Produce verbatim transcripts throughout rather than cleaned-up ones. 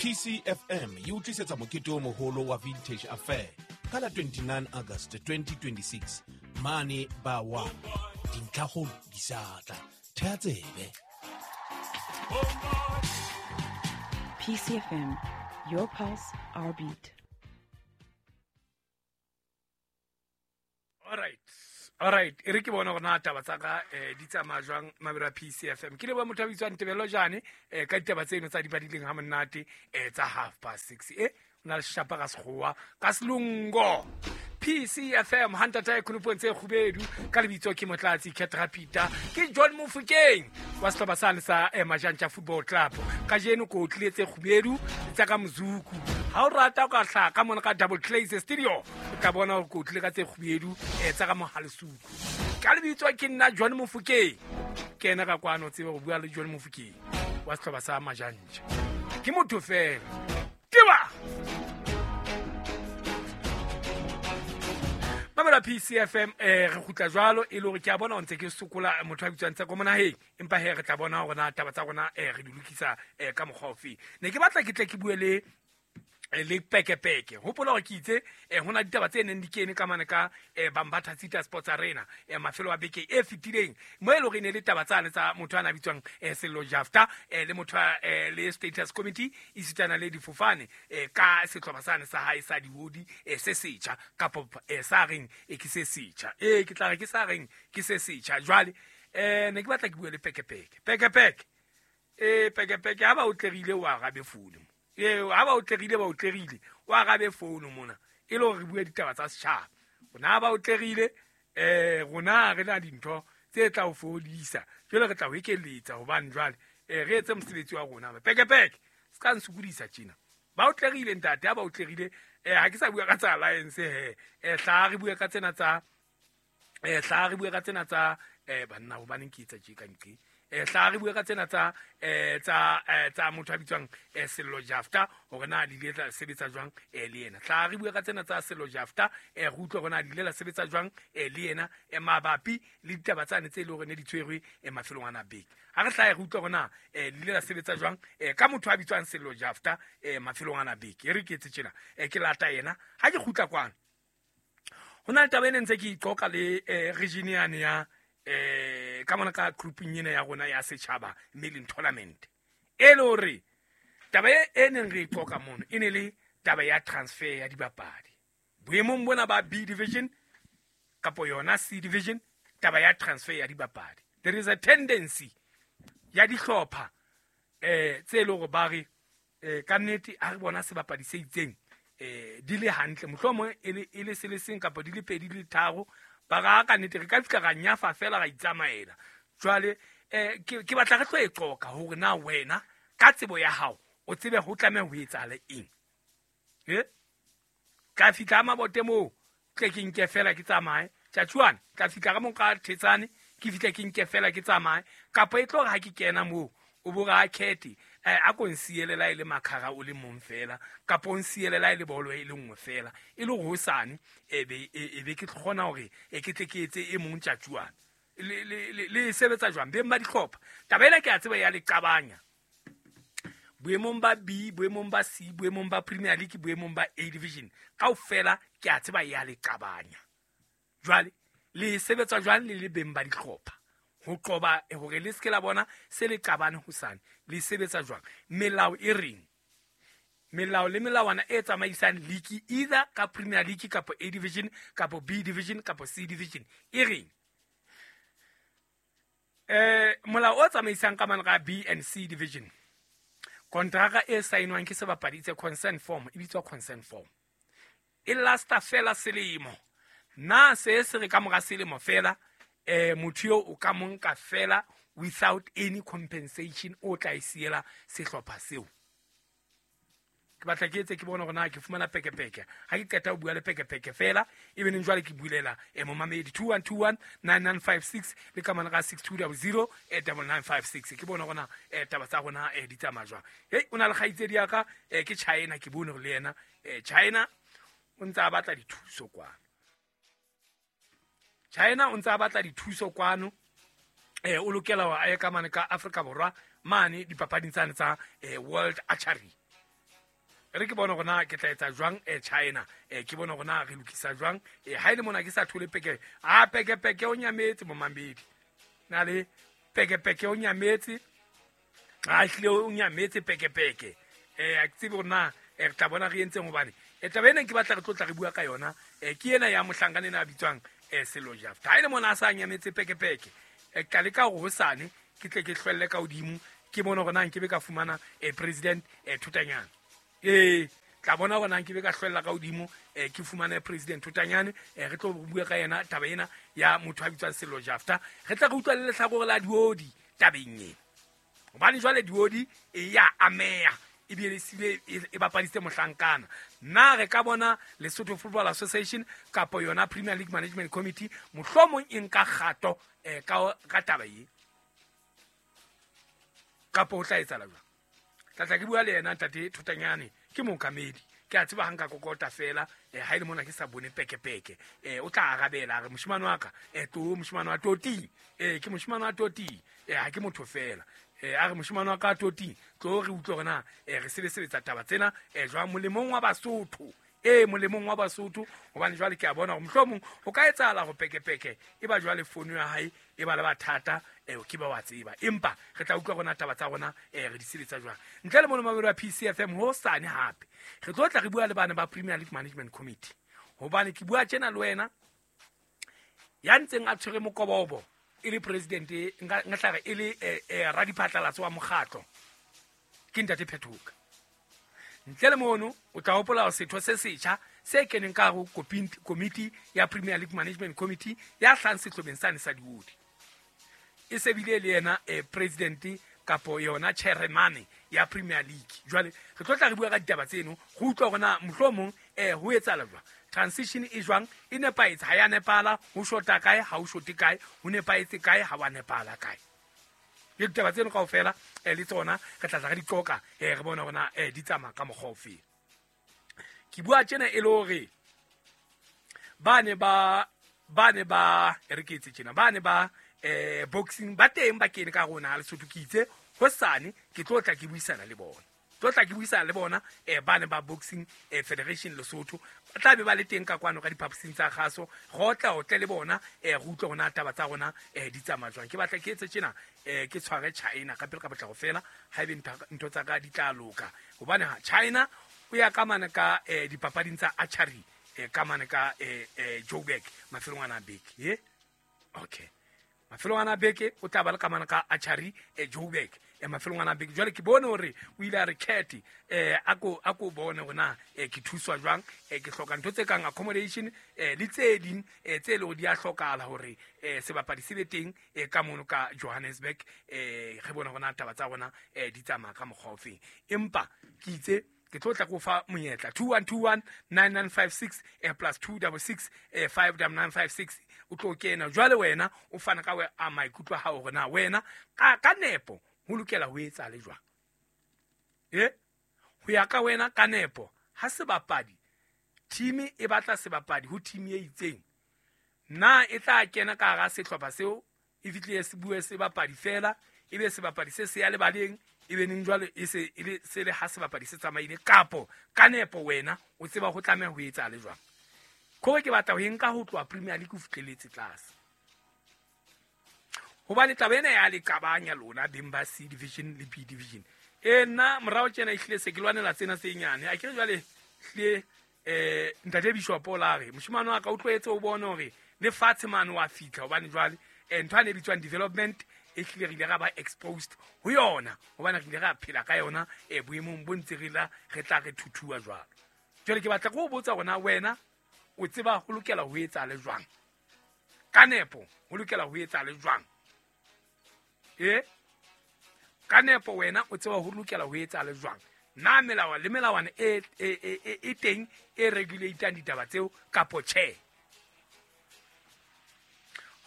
P C F M e utlwisetsa mokete o moholo wa Vintage Affair ka la twenty-nine August twenty twenty-six mane ba wa dintlhakgolo di sa tla. Thea tsebe. P C F M, your pulse, our beat. All right. All right, e re ke bona gore na taba tsa ka eh di tsamaya jwang mabelo a P C F M. Ke le ba motho a bitswang Tebello Jane eh ka ditaba tseno tsa di badileng ha monate eh tsa half past six. Eh o na le shapa ka sekgowa ka selungo. P C F M hantata e khonopong tse kgubedu ka lebitso ke Motlatsi Ketrapita ke John Mofokeng wa sehlopha sa sa Majantja Football Club. Kajeno ko tlile tse kgubedu tsa ka mozuku. Ha o rata o ka hlaha ka mona ka Double Glaze Studio o tla bona hore ko tlile ka tse kgubedu tsa ka mohalesuku. Ka lebitso ke nna John Mofokeng. Ke ena ka kwano tsebe go bua le John Mofokeng wa sehlopha sa Majantja. Ke motho fela. Teba! Mamela P C F M eh re kgutla jwalo e le hore ke a bona o ntse ke sokola motho a bitswang tsa ko monaheng empa he re tla bona hore na taba tsa rona eh re di lokisa eh ka mokgwa ofe. Ne ke batla ke tle ke bue le le pekepeke. Hopola hore ke itse eh hona ditaba tse neng di kene ka mane ka eh Bambatha City Sports Arena eh mafelo a beke e fetileng mo e le hore ne le taba tsane tsa motho ana bitswang eh Sello Jafta eh le motho eh le Status Committee isitana le difofane eh ka sehlopha sane sa hae sa dihodi eh se setjha kapa eh sa reng e ke se setjha eh ke tla re ke sa reng ke se setjha. Jwale eh ne ke batla ke bue le pekepeke. Pekepeke eh pekepeke ha ba o tlerile wa arabe founu. Eh ha ba o tlerile ba o tlerile o arabe founu mona e le hore re bue ditaba tsa setjhaba. Rona ba o tlerile eh rona re na dintho tse tla o fodisa jwale re tla o ekeletsa hobane jwale eh re etse mosebetsi wa rona. Pekepeke se ka nsukodisa tjena. Ba o tlerile ntate ha ba o tlerile eh ha ke sa bua ka tsa alliance he eh hla re bue ka tsena tsa eh hla re bue ka tsena tsa eh banna hobaneng ke etsa tje ka nqe eh hla re bue ka tsena tsa eh tsa tsa motho a bitswang eh Sello Jafta hore na di ile tla sebetsa jwang eh le yena. Hla re bue ka tsena tsa Sello Jafta eh re utlwe hore na di ile la sebetsa jwang eh le yena eh mabapi le ditaba tsane tse le hore ne di tshwerwe eh mafelong ana beke. Ha re hla re utlwe hore na eh di ile la sebetsa jwang eh ka motho a bitswang Sello Jafta eh mafelong ana beke. E re ke etse tjena eh ke lata yena ha ke kgutla kwana. Ho na le taba e ne ntse ke iqoka le eh region yane ya eh ka mona ka grouping ena ya rona ya setjhaba mailing tournament e le hore taba e neng re iqoka mono e ne le taba ya transfer ya dibapadi boemong bona ba B division kapo yona C division. Taba ya transfer ya dibapadi, there is a tendency ya dihlopha eh tse le hore ba re eh ka nnete ha re bona sebapadi se itseng eh di le hantle mohlomong e le e le se le seng kapa di le pedi di le tharo ba ra ka nnete re ka fihla ra nyafa fela ra itsamaela. Jwale eh ke ke batla re tlo e qoka hore na wena ka tsebo ya hao o tsebe ho tlameha ho etsahala eng. Eh ka fihla mabote moo tle ke nke fela ke tsamaye tjatjuane ka fihla ka mo ka thetsane ke fihla ke nke fela ke tsamaye kapa e tlo re ha ke kena moo o bo ra khethe eh a ko nsielela ile makhara o le mong fela kapa o nsielela ile bolo e le nngwe fela e le hosane e be e be ke kgona hore e ke tle ke etse e mong tjatjuane le le le sebetsa jwang beng ba dihlopha. Taba ena ke a tseba ya le qabanya boemong ba B, boemong ba C, boemong ba Premier League, boemong ba A division kaofela ke a tseba ya le qabanya. Jwale le sebetsa jwang le le beng ba dihlopha ho qoba hore le se ke la bona se le qabane hosane? Le sebetsa jwang? Melao e reng? Melao le melawana e tsamaisang league either ka Premier League kapa A division kapa B division kapa C division e reng? Eh molao o tsamaisang ka mane ka B and C division, kontraka e saenwang ke sebapadi tse consent form e bitswa consent form e lasta fela selemo. Na se se re ka mora selemo fela eh motho yo o ka monka fela without any compensation o tla isiela sehlopha seo. Ke batla ke etse ke bona hore na ke fumana pekepeke ha ke qeta ho bua le pekepeke fela e beneng jwale ke bulela eh momamedi two one two one nine nine five six le ka mana ka six two zero zero nine nine five six ke bona hore na eh taba tsa rona eh di tsamaya jwang. Hei o na le kgaitsedi ya ka eh ke China ke bone hore le yena eh China o ntse a batla dithuso kwano. China o ntse a batla dithuso kwano eh o lokela wa aye ka mane ka Afrika Borwa mane dipapading tsane tsa eh World Archery. Re ke bona gona ke tla etsa jwang e China e ke bona gona re lokisa jwang e ha ile mona ke sa thole peke a peke peke o nyametse mo mambedi na le peke peke o nyametse a hlile o nyametse peke peke e a ke tsebe gona e re tla bona re entseng hobane e taba ena ke batla re tlotla re bua ka yona e ke ena ya mohlankana ena a bitswang e Sello Jafta ha ile mona a sa nyametse peke peke e ka leka hore hosane ke tle ke hlwelle ka hodimo ke bona gona nke be ka fumana e president e Thutanyana e tla bona gona nke be ka hlwella ka hodimo e ke fumane president Thutanyane e re tlo bua ka yena taba ena ya motho a bitswang Sello Jafta re tla re utlwa le lehlakore la diodi tabeng ena hobane jwale diodi e ya ameha ebile sile e bapaditse mohlankana nna re ka bona Lesotho Football Association kapa yona Premier League Management Committee mohlomong e nka kgato eh ka ka taba e kapa ho tla etsahala jwang tla tla ke bua le yena ntate Thutanyane ke mookamedi ke a tseba hanka kokota fela eh ha ile mona ke sa bone peke peke eh o tla arabela re moshimane wa ka eh to moshimane wa Toti eh ke moshimane wa Toti eh ha ke motho fela eh a re moshimane wa ka Toti tlo re utlwe rena eh re sebetsa taba tsena eh jwa molemong wa Basotho eh molemong wa Basotho hobane jwale ke a bona hore mohlomong ho ka etsahala ho peke peke e ba jwale fono ya hae e ba le bathata eh ke ba wa tseba empa re tla utlwa rona taba tsa rona eh re di sebetsa jwang ntle le mono mamelo wa P C F M ho sane hape re tlo tla re bua le bana ba Premier League Management Committee hobane ke bua tjena le wena ya ntseng a tshwere mokobobo e le president nka tla re e le eh radiphatlalatso wa mokgatlo ke ntate Phethoka ntle le mono o tla hopola setho se setjha se keneng ka ho committee ya Premier League Management Committee ya hlang sehlobeng sane sa diodi e sebile le yena eh, president kapo yona chairman ya Premier League jwale re tlo tla re bua ka ditaba tseno go utlwa gona mohlomong eh ho etsahala jwang transition e jwang e nepahetse ha ya nepala ho shota kae ha ho shote kae ho nepahetse kae ha wa nepala kae le ditaba tseno kaofela eh le tsona re tla tla re di qoka eh re bona hore eh di tsamaya ka mokgwa ofe ke bua tjena e le hore ba ne ba ba ne ba re ke etse tjena ba ne ba eh boxing ba teng ba kene ka rona Lesotho ke itse hosane ke tlo tla ke buisana le bona tlo tla ke buisana le bona eh ba ne ba boxing eh Federation Lesotho ba tla be ba le teng ka kwano ka diphaposing tsa kgaso go tla o tle le bona eh re utlwe rona taba tsa rona eh di tsamaya jwang ke batla ke etse tjena eh ke tshware China ka pele ka batla go fela ha ebe ntho tsa ka di tla loka hobane ha China o ya ka mane ka eh dipapading tsa archery eh ka mane ka eh eh Joburg mafelong ana beke ye okay mafelong ana beke o tla ba le ka mane ka archery eh Joburg e mafelong ana beke jwale ke bone hore o ile a re cat eh a ko a ko bone hore eh ke thuswa jwang eh ke hloka ntho tse kang accommodation eh le tse ding eh tse le di a hlokahala hore eh sebapadi se be teng eh ka mono ka Johannesburg eh re bona hore taba tsa rona eh di tsamaya ka mokgwa ofe empa ke itse ke tlo tla go fa monyetla two one two one nine nine five six eh plus two six six eh five nine five six o tlo kena jwale wena o fana ka a maikutlo a hao hore na wena ka ka nepo ho lokela ho etsa le jwang eh ho ya ka wena ka nepo ha sebapadi team e batla sebapadi ho team e itseng na e tla kena ka hara sehlopha seo e fihle se bue sebapadi fela e be sebapadi se se ya lebaleng e be neng jwale e se e le se le ha sebapadi se tsamaile kapo ka nepo wena o tseba ho tlameha ho etsa le jwang khore ke batla ho nka ho tloha Premier League ho fihleletse tlase hobane taba ena ya le qabanya lona beng ba C division le B division e nna morao tjena ehlile se ke lwanela tsena tse nyane a ke re jwale hlile eh ntate Bishop o la re moshimane wa ka o tloetse o bone hore le fatshe mane wa fihla hobane jwale eh ntho ane bitswang development e hlile re ile ra ba exposed ho yona hobane re ile ra phela ka yona e boemong bo ntse re la re tla re thuthuwa jwalo jwale ke batla go botsa rona wena o tseba ho lokela ho etsa le jwang ka nepo ho lokela ho etsa le jwang e ka nepo wena o tseba ho lokela ho etsa le jwang na melawa le melawana e e e e teng e regulatang ditaba tseo kapo tjhe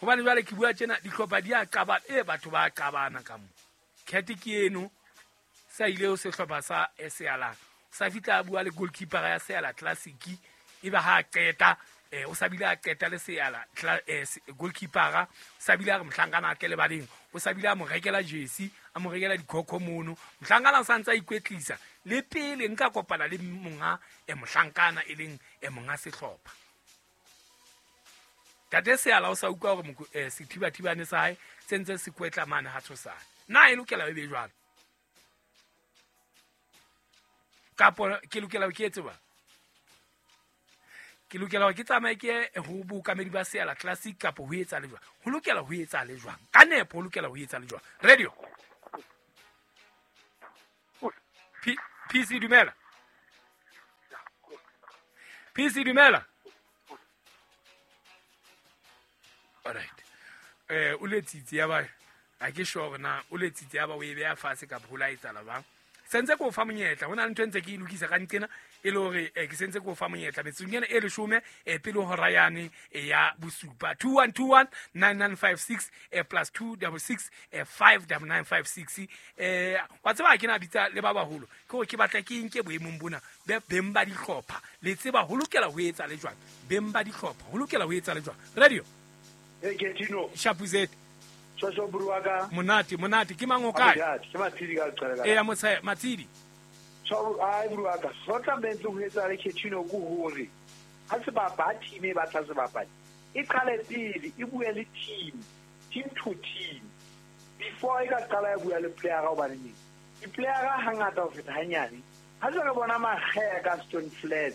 hobane jwale ke bua tjena dihlopha di a qaba e batho ba qabana ka mo cat ke eno sa ile ho sehlopha sa Seala sa fitla bua le goalkeeper ya Seala Classic e ba ha qeta eh o sa bile a qeta le Seala goalkeeper sa bile a re mohlankana a tle le baleng o sa bile a mo rekela jersey a mo rekela dikhokho mono mohlankana o sa ntse a ikwetlisa Le pele nka kopana le monga e mohlankana e leng e monga sehlopha. Tate Seala o sa utlwa hore sethibathibane sa hae se ntse se kwetla mane ha tshosane. Na e lokela e be jwalo? Kapo ke lokela ke etse ba? Ke lokela ke tsamaye ke ho bookamedi ba Seala Classic kapo ho etsa le jwang? Ho lokela ho etsa le jwang? Ka nepo ho lokela ho etsa le jwang? Radio. P PC dumela. P C dumela. All right. Eh o letsitse ya ba a ke sure na o letsitse ya ba o e beha fatshe ka ho la etsala ba. Sentse ko fa monyetla hona le ntho ntse ke e lokisa ka nqena e le hore ke sentse ko fa monyetla metsong ena e leshome e pele hora yane ya bosupa two one two one nine nine five six plus two six six five nine nine five six eh wa tseba ke na bitsa le ba baholo ke hore ke batla ke nke boemong bona be beng ba dihlopha le tseba ho lokela ho etsa le jwang beng ba dihlopha ho lokela ho etsa le jwang radio e ke Tino Shapuzet Shosho Buruaga monate monate ke mang o kae ke Matsidi ka qala e ya motshe Matsidi so ai Buruaga so tla bentse ho etsa le Ketino go hore ha se ba ba team e batla se bapadi e qale pele e bue le team team to team before e ka qala ya bua le player ga o bane di player ha hangata ho feta hanyane ha se re bona magea ka Stone Flat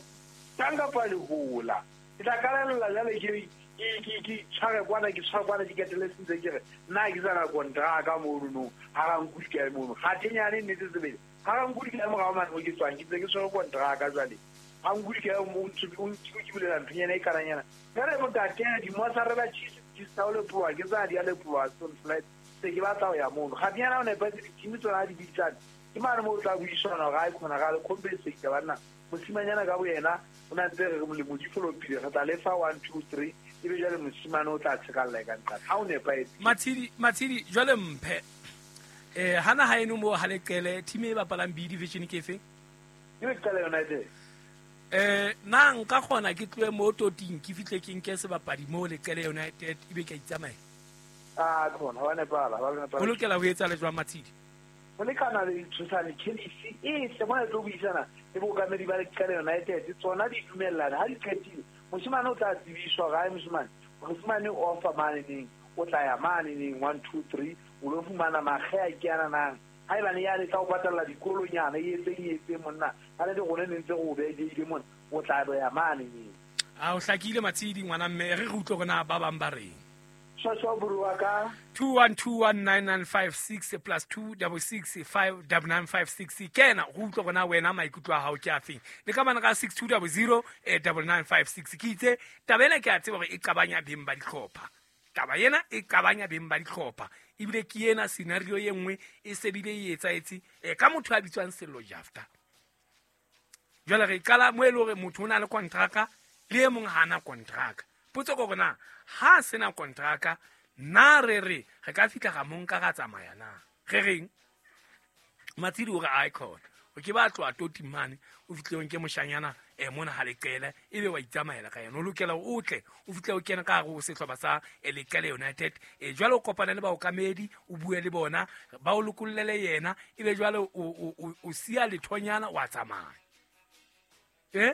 tanga pa le hola e tla kalella jale ke ke ke tshware kwana ke tshware kwana di ketele sentse ke re nna ke tsana kontraka mono no ha ra nkudi ka mono ga tenyane nnete tsebele ha ra nkudi ka morao mane mo ke tswang ke tse ke tshware kontraka jwale ha nkudi ka mo ntse o ke bulela nthonyana e karanyana ka re motate di mo sa re ba cheese di saole pua ke tsa di a le pua Stone Flat se ke batla ho ya mono ga tenyana o ne ba di team tsona di bitsana ke mane mo tla buisana ga e khona ga le compensate banna mosimanyana ka boyena o na ntse re molemo di follow pele re tla lefa one two three e be jwale mosimane o tla tshekalla ka nqa ha o nepahetse Matsidi Matsidi jwale mphe eh hana ha eno mo ha leqele team e bapalang B division ke efe ke Leqele United eh na nka kgona ke tloe mo toting ke fihle ke nke sebapadi mo Leqele United ebe ke itsamaya ah khona wa nepala wa nepala ho lokela ho etsa le jwang Matsidi ho lekana le tshosane Kelly e tle mona tlo buisana le bookamedi ba Leqele United tsona di dumellana ha di qetile mosimane o tla tsebiswa gae mosimane mosimane o offer mane neng o tla ya mane neng one two three o lo fumana magea ke ana nang ha ebane ya le tla o patalla dikolonyana e etseng e etseng monna ha le rone ne ntse go beile mona o tla ya mane neng a o hlakile Matsidi ngwana mme re re utlwe rona ba bang ba reng Shosho Buruaga two one two one nine nine five six plus two six six five nine nine five six kena go utlwe rona wena maikutlo a hao ke afeng le ka bana ka six two zero zero nine nine five six ke itse taba ena ke a tseba hore e qabanya beng ba dihlopha taba ena e qabanya beng ba dihlopha ebile ke ena scenario e nngwe e sebile e etsaetse ka motho a bitswang Sello Jafta jwale re qala mo e le hore motho o na le kontraka le e mong ha ana kontraka potso ko bona ha sena kontraka na re re re ka fihla ga monka ga tsamaya na re reng Matsidi o re icon o ke ba tloa toti mane o fihle nke moshanyana e mona ha Leqele ebe wa itsamaela ka yena o lokela o tle o fihle o kena ka hare ho sehlopha sa Leqele United e jwale o kopana le baokamedi o bue le bona ba o lokollele yena ebe jwale o o siya lethonyana wa tsamaya eh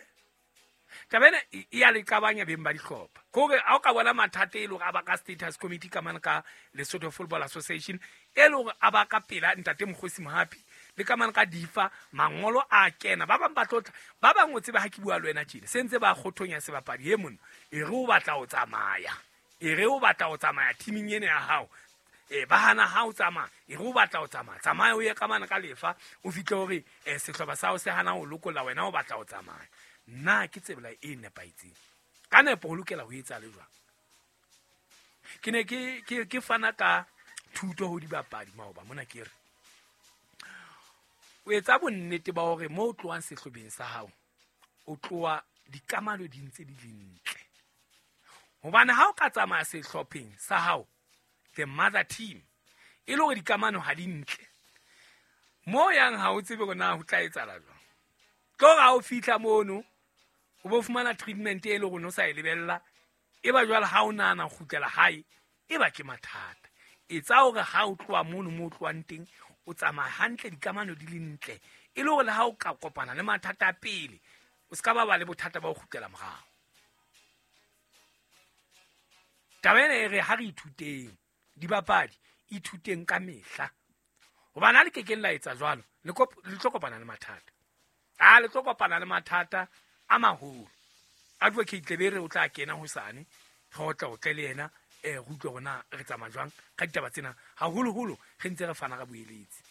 taba ena e ya le qabanya beng ba dihlopha kore ha o ka bona mathata e le hore a ba ka status committee ka mane ka Lesotho Football Association e le hore a ba ka pela ntate Mokgosi Mohapi le ka mane ka difa mangolo a kena ba bang ba tlotla ba bang o tseba ha ke bua le wena tjena se ntse ba kgothonya sebapadi e mona e re o batla ho tsamaya e re o batla ho tsamaya teaming ena ya hao e ba hana ha o tsamaya e re o batla ho tsamaya tsamaya o ye ka mane ka lefa o fihle hore sehlopha sa hao se hana ho lokolla wena o batla ho tsamaya nna ke tsebela e nepahetseng ka nepo ho lokela ho etsa le jwang ke ne ke ke ke fana ka thuto ho dibapadi maoba mona ke re o etsa bonnete ba hore mo o tlohang sehlobeng sa hao o tloha dikamano di ntse di le ntle hobane ha o ka tsamaya sehlopheng sa hao the mother team e le hore dikamano ha di ntle mo yang ha o tsebe hore na ho tla etsahala jwang tlo ha o fihla mono o bo fumana treatment e le hore no sa e lebella e ba jwale ha o nahana kgutlela hae e ba ke mathata etsa hore ha o tloha mono mo o tlohang teng o tsamaya hantle dikamano di le ntle E le hore le ha o ka kopana le mathata a pele, o ska ba ba le bothata ba ho kgutlela morao. Taba ena e re ha re ithuteng, dibapadi ithuteng ka mehla. Hobane ha le kekeng la etsa jwalo, le le tlo kopana le mathata. A le tlo kopana le mathata a maholo. Advocate Lebere o tla kena hosane, re otla o tle le yena, eh re utlwe hore na re tsamaya jwang ka ditaba tsena, haholoholo re ntse re fana ka boeletsi.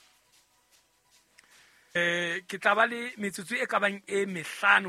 Eh ke tla ba le metsotso e ka bang e mehlano.